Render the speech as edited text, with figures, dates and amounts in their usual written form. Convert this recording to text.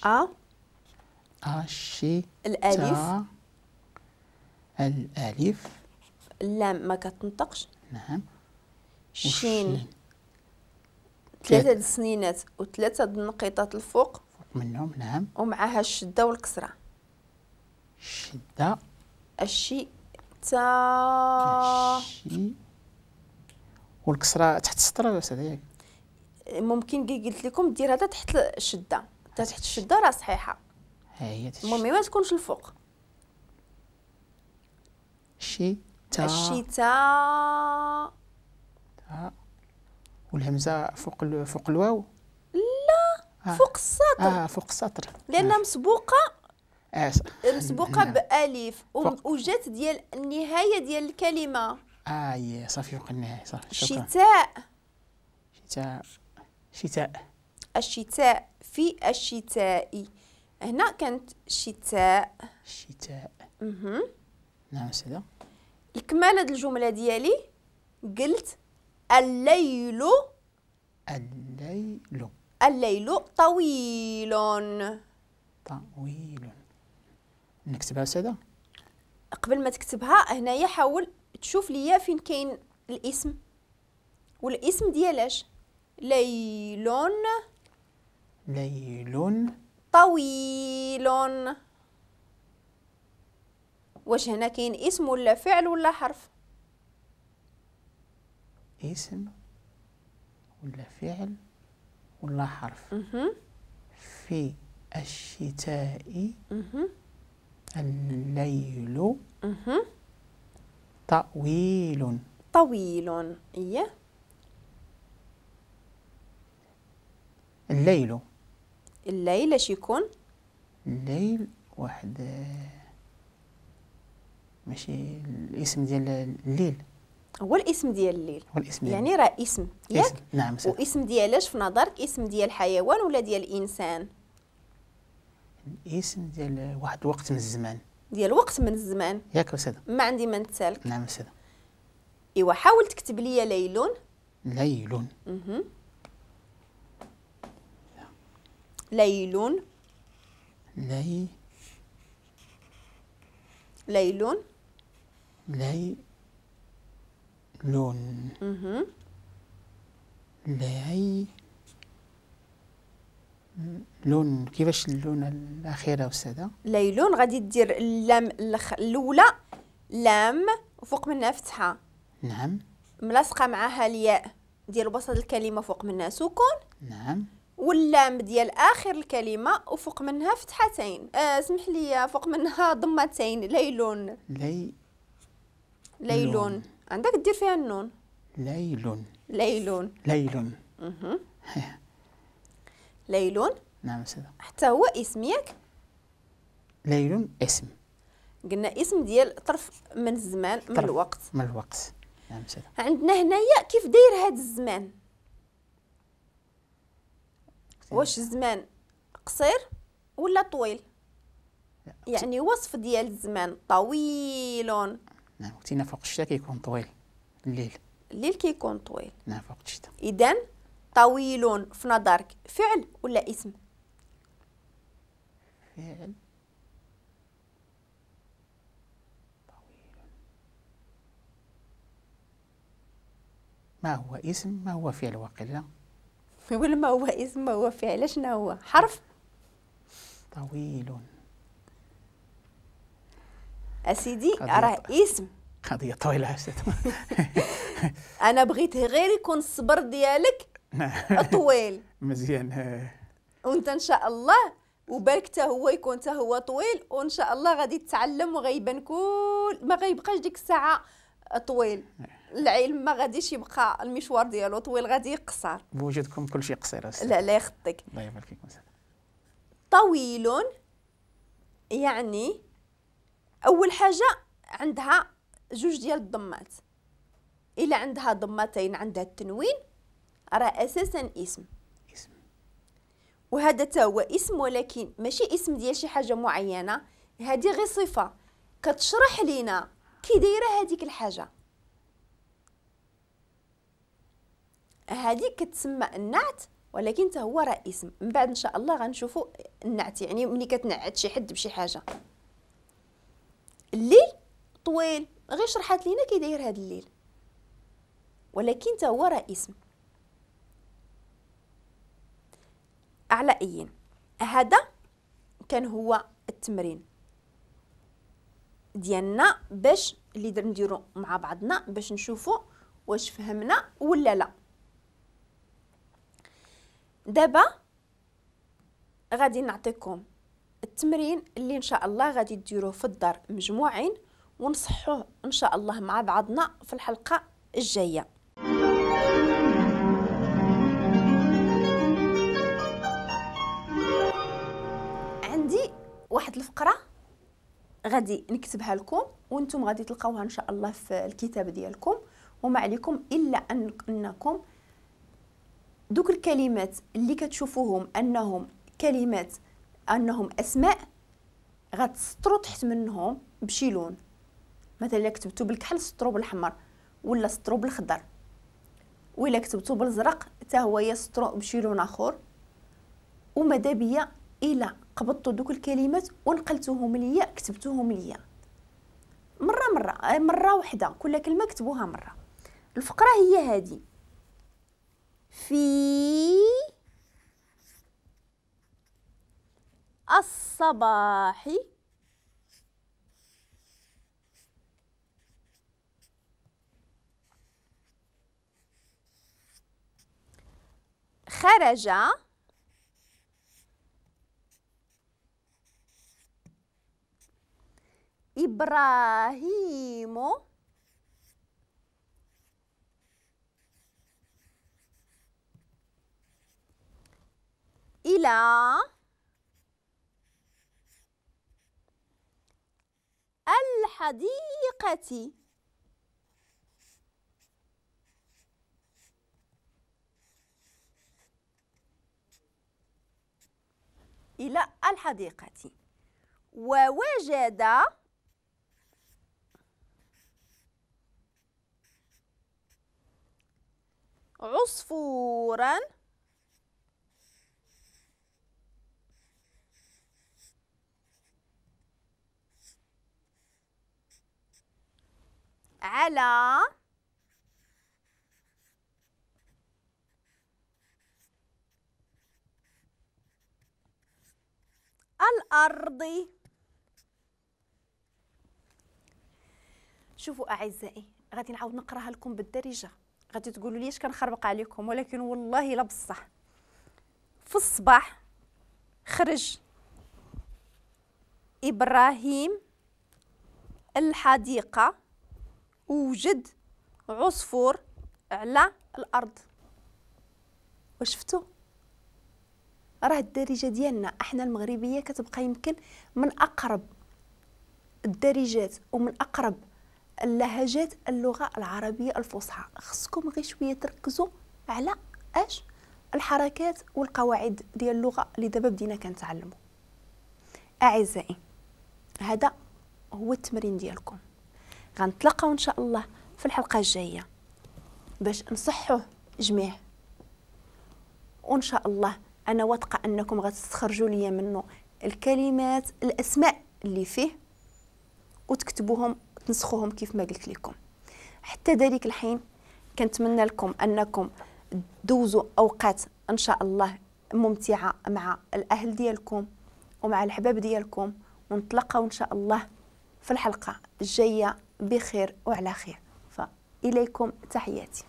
أ الشي الألف، الألف، اللام ما كتنطقش. نعم. الشين 3 السنينات وثلاثة النقيطات الفوق فوق منهم. نعم. ومعها الشدة والكسرة. الشدة. الشي تا الشي والكسرة تحت السطر ولا أستاذ ياك؟ ممكن كي قلت لكم دير هذا تحت الشدة، تحت الشدة راه صحيحة. ها هي تحت المهم ما تكونش الفوق. الشي تا الشي تا تا والهمزة فوق فوق الواو؟ لا. فوق السطر. فوق السطر لأنها مسبوقة. مسبوقة. نعم. بألف وجات ديال النهاية ديال الكلمة. صافي فوق النهاية صافي. شتاء. شتاء. شتاء. الشتاء في الشتاء. هنا كانت شتاء. شتاء. نعم أستاذة. الكمالة الجملة ديالي قلت الليل. الليل. الليل طويل. طويل. نكتبها أستاذة؟ قبل ما تكتبها هنايا حاول تشوف ليا فين كاين الاسم، والاسم ديالاش؟ ليل. ليل طويل. واش هنا كاين اسم ولا فعل ولا حرف؟ اسم ولا فعل ولا حرف. في الشتاء الليل طويل. طويل. إيه. الليل. الليل اش يكون؟ الليل واحد ماشي الاسم ديال الليل. هو الاسم ديال الليل. هو الاسم ديال يعني راه اسم ياك؟ نعم. واسم ديالاش في نظرك؟ اسم ديال حيوان ولا ديال انسان؟ الاسم ديال واحد الوقت من الزمان. ديال وقت من الزمان ياك أستاذة؟ ما عندي ما نتسالك. نعم أستاذة. ايوا حاول تكتب لي ليل. ليل. ليل. لي ليل. ليل. لي لون. كيفاش اللون الأخيرة أستاذة؟ ليلون غادي دير اللام الأولى لام وفوق منها فتحة. نعم. ملاصقة معاها الياء ديال وسط الكلمة فوق منها سكون. نعم. واللام ديال آخر الكلمة وفوق منها فتحتين. اسمح لي فوق منها ضمتين. ليلون. لي ليلون. عندك دير فيها النون. ليلون. ليلون. ليلون. ليلون. نعم أستاذة. حتى هو اسم ياك؟ ليل اسم. قلنا اسم ديال طرف من الزمان، من الوقت. من الوقت. نعم أستاذة. عندنا هنايا كيف داير هذا الزمان؟ واش الزمان قصير ولا طويل؟ يعني وصف ديال الزمان طويل. نعم وقتنا فوق الشتاء كيكون طويل الليل. الليل كيكون طويل. نعم فوق الشتاء. إذا طويل في نظرك فعل ولا اسم؟ فعل. طويل. ما هو اسم ما هو فعل واقيلا؟ ولا ما هو اسم ما هو فعل، شنو هو؟ حرف؟ طويل. اسيدي راه اسم. قضية طويلة أستاذ. أنا بغيت غير يكون الصبر ديالك طويل. مزيان. وانت ان شاء الله وبالك حتى هو يكون حتى هو طويل، وان شاء الله غادي تتعلم وغيبان كل ما غيبقاش ديك الساعة طويل. العلم ما غاديش يبقى المشوار ديالو طويل، غادي يقصر. بوجودكم كل شيء قصير. لا لا يخطيك. الله يبارك فيك أستاذ. طويل يعني اول حاجة عندها جوج ديال الضمات. الا عندها ضمتين عندها التنوين راه اساسا اسم. اسم. وهذا تا هو اسم، ولكن ماشي اسم ديال شي حاجة معينة، هذه غير صفة كتشرح لينا كي دايرة هذيك الحاجة. هذه كتسمى النعت، ولكن حتى هو راه اسم. من بعد ان شاء الله غنشوفوا النعت، يعني ملي كتنعت شي حد بشي حاجة. الليل طويل، غير شرحات لينا كي داير هذا الليل، ولكن حتى هو راه اسم. على ايين هذا كان هو التمرين ديالنا باش اللي نديرو مع بعضنا باش نشوفوا واش فهمنا ولا لا. دابا غادي نعطيكم التمرين اللي ان شاء الله غادي ديروه في الدار مجموعين، ونصحوه ان شاء الله مع بعضنا في الحلقة الجاية. عندي واحد الفقرة غادي نكتبها لكم وانتم غادي تلقاوها ان شاء الله في الكتاب ديالكم، وما عليكم الا انكم دوك الكلمات اللي كتشوفوهم انهم كلمات انهم اسماء غتسطروا تحت منهم بشي لون. مثلا الا كتبتو بالكحل سطروا بالاحمر، ولا سطروا بالخضر، ولا كتبتو بالازرق حتى هو يسطروا بشي لون اخر. وماذا بيا الا قبضتوا دوك الكلمات ونقلتوهم ليا، كتبتوهم ليا مرة مرة واحدة، كل كلمة كتبوها مرة. الفقرة هي هذه: في الصباح خرج إبراهيم إلى الحديقة. إلى الحديقة ووجد عصفورا على الأرض. شوفوا أعزائي، غادي نعاود نقراها لكم بالدارجة، غادي تقولوا لي اش كنخربق عليكم، ولكن والله لا بصح. في الصباح خرج إبراهيم الحديقة ووجد عصفور على الأرض. وشفتوا راه الدارجة ديالنا احنا المغربية كتبقى يمكن من أقرب الدارجات ومن أقرب اللهجات اللغة العربية الفصحى. خصكم غير شوية تركزوا على اش الحركات والقواعد ديال اللغة اللي دابا بدينا كنتعلموا. أعزائي هذا هو التمرين ديالكم، غنتلاقاو ان شاء الله في الحلقة الجاية باش نصحوه جميع، وان شاء الله انا واثقة انكم غتستخرجوا ليا منه الكلمات الاسماء اللي فيه وتكتبوهم تنسخوهم كيف ما قلت لكم. حتى ذلك الحين كنتمنى لكم انكم دوزوا اوقات ان شاء الله ممتعة مع الاهل ديالكم ومع الحباب ديالكم، ونتلاقاو ان شاء الله في الحلقة الجاية بخير وعلى خير. فاليكم تحياتي.